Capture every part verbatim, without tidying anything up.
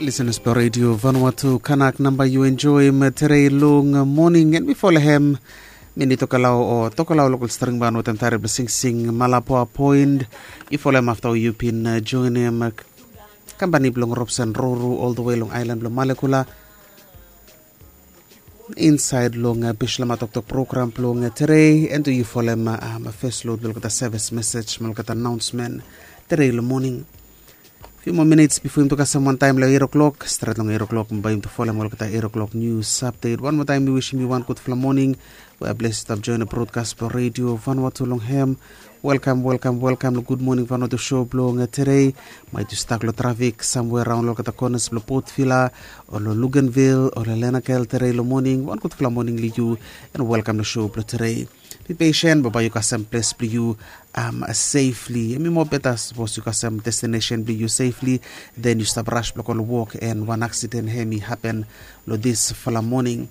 Lisenas blong redio Vanuatu, kanak namba yu enjoim terei long moning, en bifo long hem mi ni tokalau o tokalau lokal string ban wetem tare blong singsing Malapoa Point. Yu folem afta yu bin joinim kampani blong Robson Roro ol the way long ailan blong Malekula insaed long Bislama Toktok program blong terei, en tu yu folem fes lod blong olgeta sevis mesej mo olgeta anaonsmen terei long moning. Fiu moa minits bifo yumi tu kasem wantaem long eit o'klok, stret long eit o'klok bae yumi tu folem olgeta eit o'klok nius apdet. Wan moa taem mi wisim yu wan gudfala moning. We a bles yu stap join brodkas blong redio Vanuatu long hem. Welkam, welkam, welkam long Gud Moning Vanuatu show blong terei. Maet yu stak long trafik samwe raon long olgeta konas blong Port Vila o long Luganville o long Lenakel terei long moning, wan gudfala moning long yu, en welkam long show blong terei. Be pesen, bambae yu kasem ples blong yu um, safely. Hemi moa beta sapos yu kasem destination blong yu safely, then yu stap ras blong go long wok, en wan aksiden hemi hapen long disfala moning.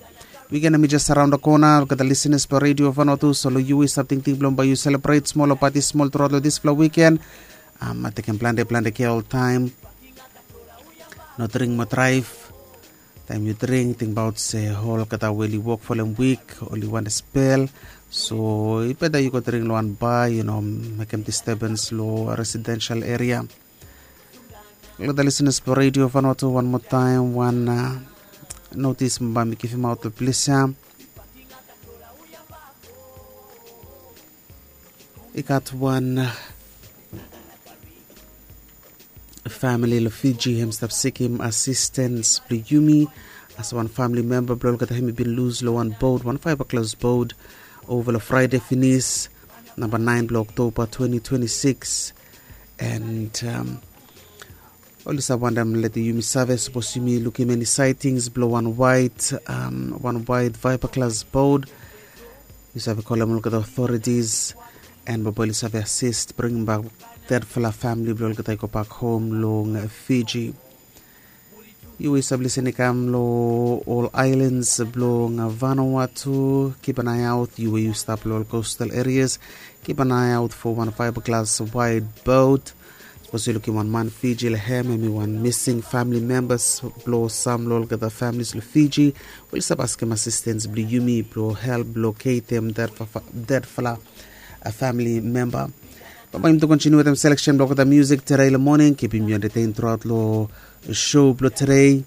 Wiken hemi jes araon da kona. Olgeta lisenas blong redio Vanuatu, so long yu i stap tingting blong bae yu selebret smol o pati smol truaot long disfala wiken. Um, tekem plante plante kea oltaem. No dring mo draev. Taem yu dring, tingbaot se olgeta we oli wok folem wik oli wantem spel. So i beta yu go dring long wan ba, yu no mekem disturbens long residensel eria. Olgeta lisenas blong redio Vanuatu, wan moa taem wan notis bambae mi givimaot long ples ya. I gat wan famili long Fiji hem stap sikim asistens blong yumi. As wan famili memba blong olgeta hem i bin lus long wan bot, wan faev klas bot, ova long Fraede finis, namba naen blong Oktoba twenty twenty-six. And um, oli save wantem lete yumi save sapos yumi lukim eni saetings blong wan waet, um, wan waet faev klas bot. Yu save kolem olgeta otoritis, en bambae oli save asist bringimbak detfala famili blong olgeta i gobak hom long Fiji. Yu we yu save lisen i kam long ol aelans blong Vanuatu, kip an ae aot. Yu we yu stap long ol kostal erias, kip an ae aot fo wan faev klas waet bot. Sapos yu lukim wan man Fiji long hem, hemi wan mising famili membas blong sam long olgeta familis long Fiji, we oli save askem asistens blong yumi blong help loketem detfala famili memba. Bambae yumi tu kontiniu wetem seleksen blong olgeta musik terei long moning. Kipim yu entetein truaot long show blong terei.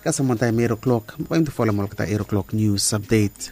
Kasem wantaem eit o'klok, bambae yumi tu folem olgeta eit o'klok nius apdet.